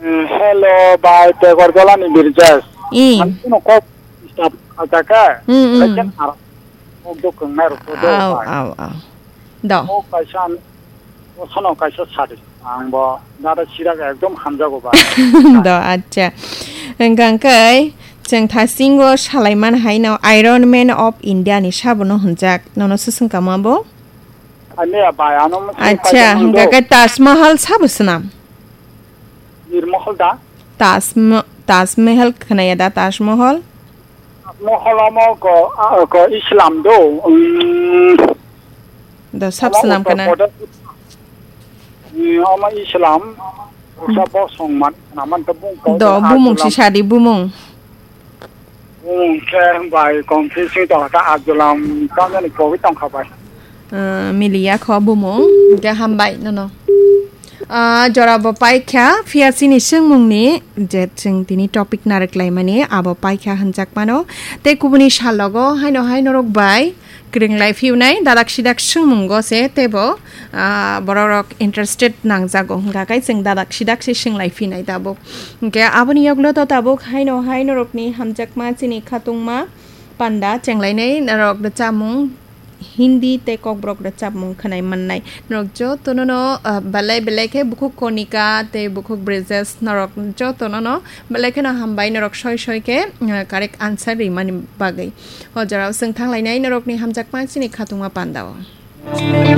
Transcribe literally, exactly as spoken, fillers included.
Mm, hello, bai, Tegor Golani Birjas. I. Ang kuno kok stop khaja khe, Mm, mm. Lekin ar-, kok do kwngnai rok do, Au, bai. Au, au. Do. Kok kaisa ang, o sono kaisa sadi. Ang bo nada sirak ekdom hamjago, bai. Do, acha. Hwnkha khe, chwng thasingo salaiman haino Iron Man of India ni sabono hwnjak. Nono swswng kamo bo? Ani ya, bai, ano mo Acha, swngpai hwnkha do. Khe Taj Mahal sabo swnam? Nirmahal da? Taj Ma-, Taj Mahal khwnaya da, Taj Mahal? Taj Mahal omo ko, a, ko Islam do. Um, Do, sab omo swnam Uttar khna. Pradesh. Um, omo Islam. Usa bo songman, naman to bung ko Do, do bumung Ajulam. Si sadi bumung. Bumung khe bai confusing to ka Ajulam, tamjani kogwi tongkha bai. Ah, miliya kho bumung, hwnkhe hambai nono. Ah, jorabo paikha, phiya chini swngmungni je chwng tini topic narwk laimani, abo paikha hwnjakmano. Tei kubuni salogo haino hai norok bai kwrwng lai phiunai, dadak sidak swngmungo se teibo, ah, borok rok interested nangjago, hwnkha khe chwng dadak sidak se swng lai phinai tabuk. Hwnkhe aboni yoklo to tabuk haino hai norokni hamjakma chini khatungma panda chenglainai norok rwchapmung Hindi tei Kokborok rwchapmung khwnai mannai. Norok jotono no, ah, belai belai khe bukhuk Konika tei bukhuk Brejes norok jotono no belai kheno hambai norok soi soi khe, ah, correct answer rimani bagwi. O jorao chwng thanglainai norokni hamjakma chini khatungma pandao.